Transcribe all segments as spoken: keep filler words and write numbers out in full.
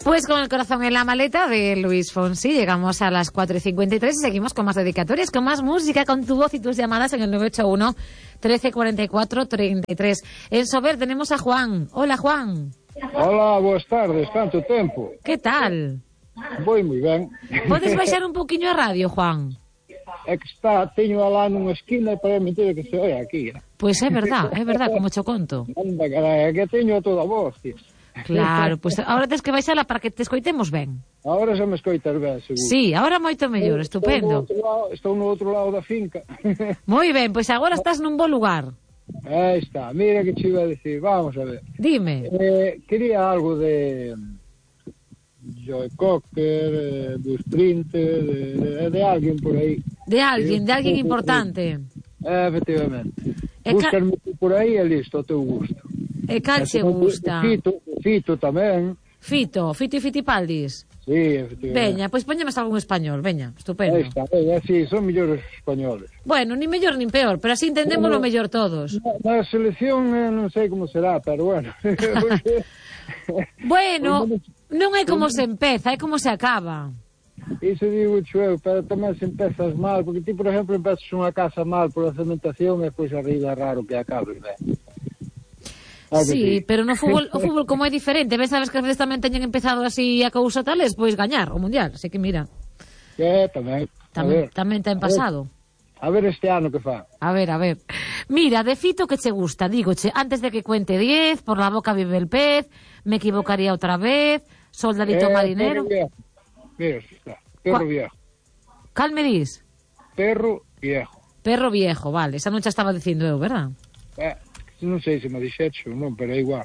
Pues con el corazón en la maleta de Luis Fonsi llegamos a las cuatro y cincuenta y tres y seguimos con más dedicatorias, con más música, con tu voz y tus llamadas en el nueve ocho uno, trece cuarenta y cuatro, treinta y tres. En Sober tenemos a Juan. Hola, Juan. Hola, boas tardes, tanto tempo. Que tal? Voi moi ben. Podes baixar un poquinho a radio, Juan? É que está, teño alá nunha esquina e para mentira que se oia aquí. Pois é verdad, é verdad, como cho conto. Anda, carai, é que teño a toda a voz, tío. Claro, pois pues ahora tens que baixala para que te escoitemos ben. Ahora xa me escoitas ben, seguro. Sí, ahora moito mellor, estupendo. Estou no outro lado, estou no outro lado da finca. Moi ben, pois agora estás nun bo lugar. Aí está, mira que che iba a decir, vamos a ver. Dime. Eh, quería algo de Joe Cocker, eh, do Sprinter, de, de, de alguén por aí. De alguén, de alguén importante. Eh, efectivamente. E Búscarme ca... por aí e listo, ao teu gusto. E cal che gusta? Fito, Fito tamén. Fito, Fito e Fitipaldis. Sí, efectivamente. Veña, pois poñemos algún español, veña, estupendo. Aí está, veña, sí, son mellores españoles. Bueno, ni mellor nin peor, pero así entendemos lo mellor todos. Na, na selección eh, non sei como será, pero bueno. Bueno, non é como se empeza, é como se acaba. Iso digo eu, pero tamén se empezas mal, porque ti, por exemplo, empezas unha casa mal por a cementación e pois arriba é raro que acabes ben. Ah, sí, sí, pero no fútbol, o fútbol como é diferente, ves, sabes que as veces tamén teñen empezado así a cousa tales, pois gañar o mundial, así que mira. Que tamén. Tamén, tamén ten pasado. A ver este ano que fa. A ver, a ver. Mira, de Fito que che gusta, dígoche, antes de que cuente diez, por la boca vive el pez, me equivocaría outra vez, soldadito eh, marinero. Perro Mira, está, perro Qua... viejo. Cal me dis? Perro viejo. Perro viejo, vale, esa non xa estaba dicindo eu, verdad? Eh. Non sei se me dixecho, non, pero é igual.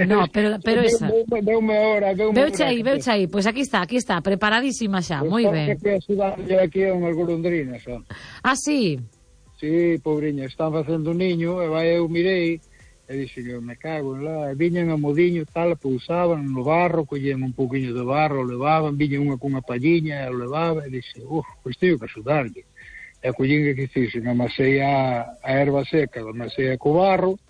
No, pero, pero esa. Deume hora, deume hora. Veuche aí, veuche aí. Pois pues aquí está, aquí está, preparadísima xa, moi ben. Que a cidade aquí é unhas golondrinas, son. Ah, sí? Sí, pobriña, están facendo un niño, e vai eu mirei, e dixo, eu me cago en lá, e viñan a modiño, tal, pousaban no barro, collían un pouquiño de barro, o levaban, viñan unha cunha palliña, e o levaba, e dixo, uf, pois teño que axudarlle. E a collín que fixen, amasei a, a erva seca, amasei a co barro,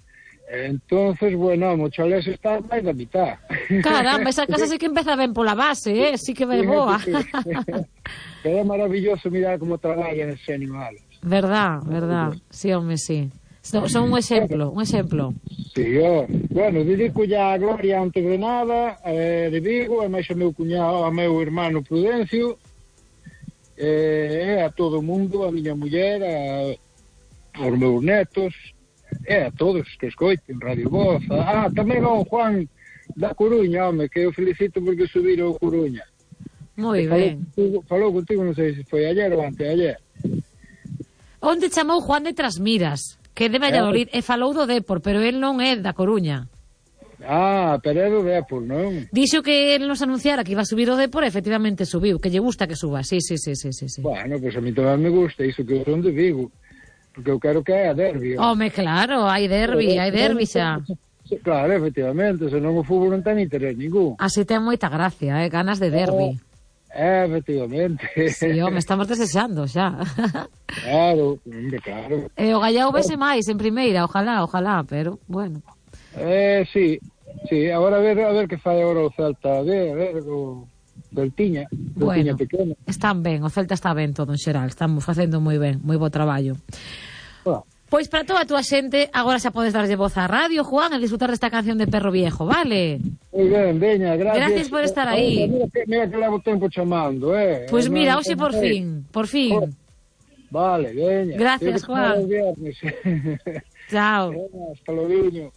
e entonces, bueno, a mochalés está máis da mitad. Caramba, esa casa sí que empeza ben pola base, eh? Sí que vai boa. É maravilloso mirar como traballan esos animales. Verdad, verdad, sí, home, sí. Son, son un exemplo, un exemplo. Sí, ó. Bueno, dedico ya a Gloria Antes de Nada, eh, de Vigo, e máis o meu cuñado, a meu hermano Prudencio, e a todo o mundo, a miña muller, a, aos meus netos, e a todos que escoiten Radio Voz. Ah, tamén ao Juan da Coruña, home, que eu felicito porque subiron a Coruña. Moi ben. Contigo, falou contigo, non sei se foi ayer ou anteayer. Onde chamou Juan de Trasmiras, que é de Valladolid, e falou do Depor, pero el non é da Coruña. Ah, pero é do Depor, non? Dixo que el nos anunciara que iba a subir o Depor e efectivamente subiu, que lle gusta que suba, sí, sí, sí, sí, sí, sí. Bueno, pois pues a mí tamén me gusta iso que eu son de Vigo, porque eu quero que haya derbi. Home, claro, hai derbi, hai derbi xa. Claro, efectivamente, senón o fútbol non ten interés ningún. Así ten moita gracia, eh, ganas de derbi. Eh, efectivamente. Sí, home, estamos desexando xa. Claro, claro. E o Gallao vese máis en primeira, ojalá, ojalá, pero, bueno. Eh, sí, sí, agora a ver, a ver que fai agora o Celta, a ver, a ver, o Celtiña, Celtiña bueno, pequena. Están ben, o Celta está ben todo en xeral, estamos facendo moi ben, moi bo traballo. Ah. Pois para toda a túa xente, agora xa podes darlle voz á radio, Juan, e disfrutar desta canción de Perro Viejo, vale? Moi ben, veña, gracias. Gracias por estar aí. Mira que, mira que levo tempo chamando, eh. Pois pues mira, no, hoxe por fin, por fin. Vale, veña. Gracias, Juan. Chao. Chao. Hasta logo.